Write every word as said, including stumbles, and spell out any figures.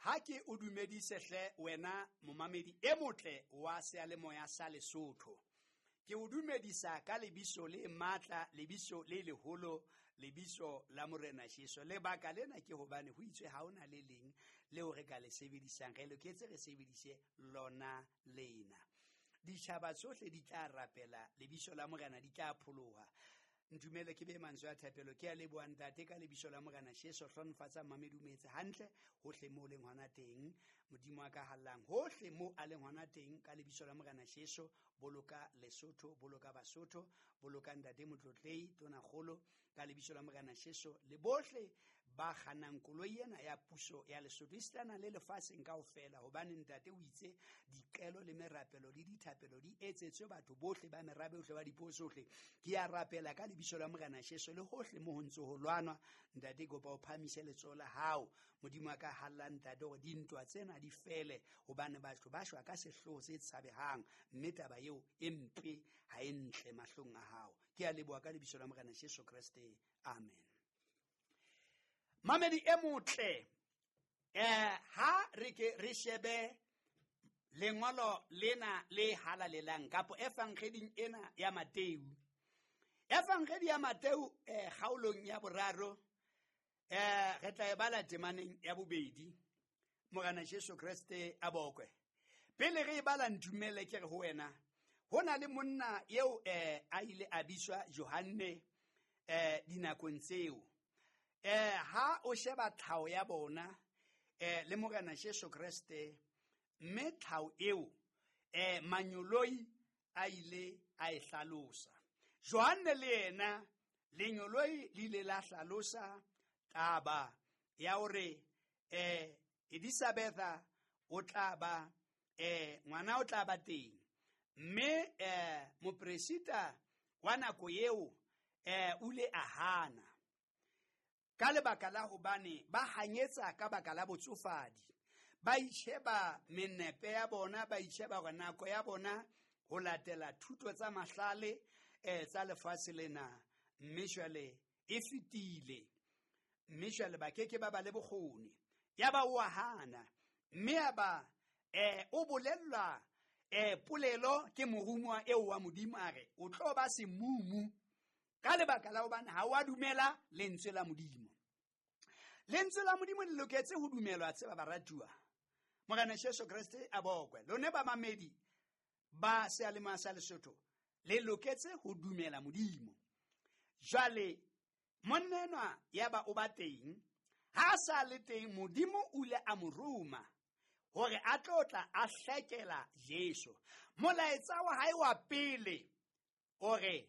Ha ke o dumedise hle wena momamedi e motle wa seyalemoya sa Lesotho. Ke o dumedisa ka lebiso le matla, lebiso le leholo, lebiso la Morena Jesu. Lebaka lena ke hobane ho itswe ha hona le leng leo re ka le sebedisang, re loketse re sebedise lona lena. Ditjhaba tsohle di tla rapela lebiso la Morena, di tla pholoha. Ntumele ke be mantswe a thapelo. Ke a leboha ntate ka lebiso la Morena Jesu. Hlonofatsa mamedi o metse hantle hohle mo leng hona teng. Modimo a ka hallang hohle mo a leng hona teng ka lebiso la Morena Jesu. Boloka Lesotho, boloka Basotho, boloka ntate Motlotlei Tonakgolo ka lebiso la Morena Jesu, le bohle ba kgannang koloi ena ya puso ya Lesotho esitana le lefatsheng kaofela, hobane ntate o itse diqelo le merapelo le dithapelo di etsetswe batho bohle ba merabe yohle ba dipuo tsohle. Ke a rapela ka lebiso la Morena Jesu le hohle mo ho ntse ho lwanwa, ntate kopa o phahamise letsoho la hao. Modimo a ka halla ntate hore dintwa tsena di fele, hobane batho ba shwa ka sehloho se tshabehang, mme taba eo e mpe ha e ntle mahlong a hao. Ke a leboha ka lebiso la Morena Jesu Kreste, amen. Mamedi e motle, eh ha re ke re shebe lengolo lena le halalelang kapo evangeding ena ya Mateu. Evangedi ya Mateu eh kgaolong ya boraro, eh re tla e bala temaneng ya bobedi. Morena Jesu Kreste a bokwe. Pele re e bala ntumele ke re ho wena, ho na le monna eo eh a ile a bitswa Johanne eh dinakong tseo. Eh ha o sheba tlhaho ya bona eh le Morena Jesu Kreste, mme tlhaho eo eh manyoloi a ile a e hlalosa. Johanne le yena lenyoloi le ile la hlalosa taba ya hore eh Elizabetha o tla ba eh ngwana o tla ba teng, mme eh mopresita wa nako eo eh o ile a hana ka lebaka la hobane ba hanyetsa ka baka la botsofadi. Ba itjheba menepe ya bona, ba itjheba hore nako ya bona ho latela thuto tsa mahlale eh tsa lefatshe lena, mme jwale e fetile, mme jwale ba keke ba ba le bokgoni. Ya ba o a hana, mme ya ba eh o bolellwa eh polelo ke morumuwa eo wa Modimo, a re o tlo ba semumu ka lebaka la hobane ha wa dumela lentswe la Modimo. Lentswe la Modimo le loketse ho dumelwa, tseba baratuwa. Morena Jesu Kreste a bokwe. Lone ba mamedi ba seyalemoya sa Lesotho le loketse ho dumela Modimo. Jwale monna enwa ya ba o ba teng, ha sa le teng Modimo o ile a mo roma hore a tlo tla a hlekela Jesu. Molaetsa wa hae wa pele o re